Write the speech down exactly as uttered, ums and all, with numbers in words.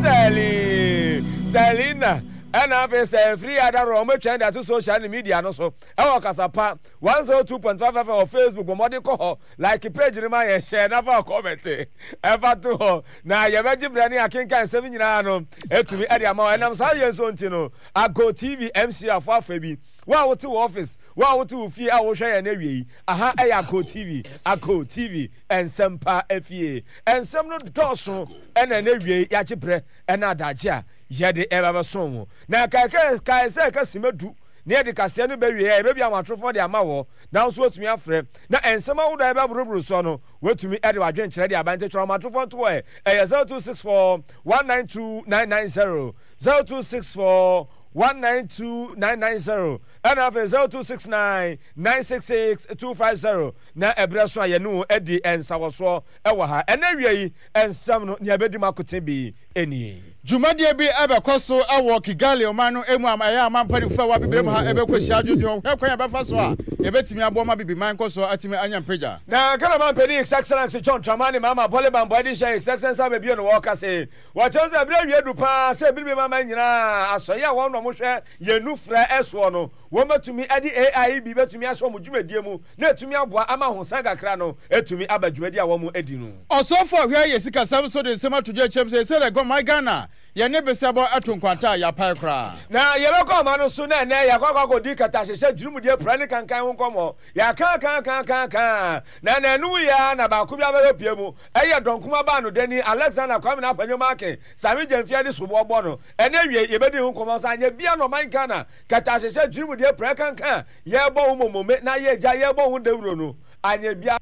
Sɛli Selina ɛna afei sɛ mfiri yɛ adarɔ wɔn atwa de ato social ne media no so ɛwɔ Kasapa one zero two point five F M wɔ Facebook. Bɔ mmɔden kɔ hɔ, like page no ma yɛn, share na fa comment ɛfa to hɔ na yɛbɛgye berɛ ne akenkan nsɛm nyinaa no ɛtumi ɛde ama wo. Ɛnam saa yɛn nso nti no, Ago T V M C afo afa bi, wo a wote wɔ office, wo a wote wo fie a wohwɛ yɛn awie yi, aha ɛyɛ Ago T V, Ago T V, nsɛm pa afie, nsɛm no dɔɔso ɛna ɛna awie yɛagye berɛ ɛna adagye a yɛde ɛba bɛso wo na kae kae sɛ ɛka sima du na yɛde kaseɛ no bɛwie a, yɛbɛbi ahomatorofoɔ de ama wɔ na nso watumi afrɛ na nsɛm ahodoɔ a yɛbɛboroboro soɔ no, watumi de wadwenkyerɛ de aba. Nti twerɛ ahomatorofoɔ nto hɔ. Ɛyɛ zero two six four one nine two nine nine zero, zero two six four one nine two nine nine zero, ɛna afei zero two six nine nine six six two five zero. Na ɛberɛ so a yɛne wo adi nsawɔsoɔ ɛwɔ ha ɛnɛ wie yi, nsɛm no nea ɛbɛdi mu akote bi nie. Dwumadie bi ɛbɛkɔ so ɛwɔ Kigali ɔman no emu a ɛyɛ ama mpanimfoɔ a wɔabibire mu ha ɛbɛkɔ hyia adwodwo hwɛ kwan a yɛbɛfa so a yɛbɛtumi aboa ma bibiman nkɔ so atumi anya mpagya. Na Ghana mampanin, His Excellency John Dramani Mahama, bɔle bambɔ de hyɛ His Excellency abɛbio no, wɔka se wɔkyerɛ sɛ ɛberɛ awie du paa sɛ biribi mama nyinaa asɔeɛ a wɔn na wɔhwɛ yɛn nufrɛ ɛsoɔ no, wɔn bɛtumi de A I bi bɛtumi ahyɛ wɔn dwumadie mu na ɛtumi aboa ama ahosan kakra no ɛtumi aba dwumadi a wɔn adi no. Ɔsɔfo a ɔhwɛ yɛ sikasɛm so de nsɛm ato dwa kyɛm sɛ ɛsɛ dɛ gɔman Ghana yɛne besɛbɔ ɛto nkwanta a yɛapae koraa. Na yɛbɛkɔ ama no so na ɛnɛ yɛakɔ akɔ akɔdi katahyehyɛ dwurumdeɛ pra ne kankan ho nkɔmmɔ. Yɛakaakaakaaka na nanum yɛ na baako bi abɛbɛ pie mu, ɛyɛ dɔnkoma baa no dani Alexander Kwame Afenyo Markin Sami Gyamfia de soboɔ bɔ no. Ɛnɛ wie yɛbɛdi ho nkɔmmɔ sɛ anyɛ bia na ɔman Ghana katahyehyɛ dwurumdeɛ pra kankan yɛbɔ ho momome na yɛgya yɛbɔ ho dawuro no anyɛ bia.